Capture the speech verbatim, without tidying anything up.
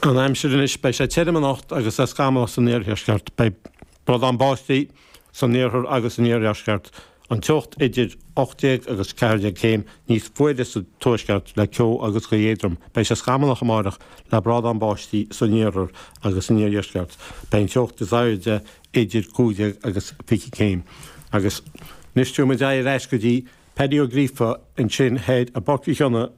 An aimsir anois beidh sé tirim anocht agus é scamallach san iardheisceart beidh bradán báistí san iarthar agus san iardheisceart an teocht idir ocht déag agus ceathair déag céim níos fuaire sa tuaisceart le ceo agus gaoth éadrom. Beidh sé scamallach amárach le brádán báistí san iarthar agus san iardheisceart. Beidh an teocht is airde idir cúig déag agus fiche céim. Agus anois tabharfaidh muid aghaidh ar ais go dtí Paddy Ó Gríofa ansin thoir i bPáirc Uí Chionnaith